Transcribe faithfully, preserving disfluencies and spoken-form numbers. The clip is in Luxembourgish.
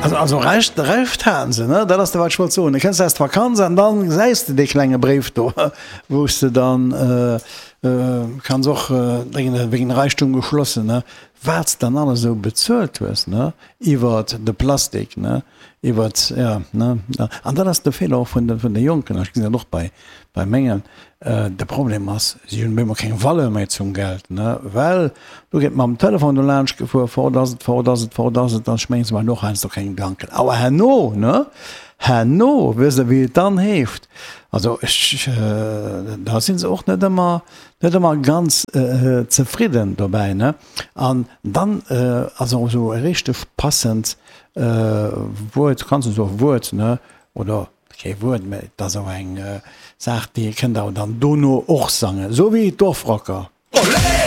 Also, also Recht, Recht haten se, ne? Dat ass dat, wat ech wollt soen. Du kënns aus der Vakanz an dann gesäis de dee klenge Bréif do, wou s de dann kanns och wéinst wegen Reichtum geschlossen, ne? Wat s dann alles esou bezuelt hues, ne? Iwwert de Plastik, ne? Iwwert, ja, ne? An dat ass de Feeler och vun de, vun de Jonken. Ech gesinn dat och bei, bei mengen. De Problem ass, si hunn op eemol keng Valeur méi zum Geld, ne? Well do gëtt mam Telefon do laanscht gefuer, fort ass et, fort ass et, fort ass et, an ech mengen, se maachen och heiansdo keng Gedanken. Awer herno, ne, herno, wësst Der, wéi et dann heescht? Also ech, da si se och net ëmmer, net ëmmer ganz zefridden dobäi, ne? An dann ass och esou e richteg passend Wuert, kanns du soen, Wuert, ne, oder Kee Wuert, mä et ass awer eng Saach, déi ee kënnt awer dann dono och sangen, esou wéi d'Dorfrocker. Olé!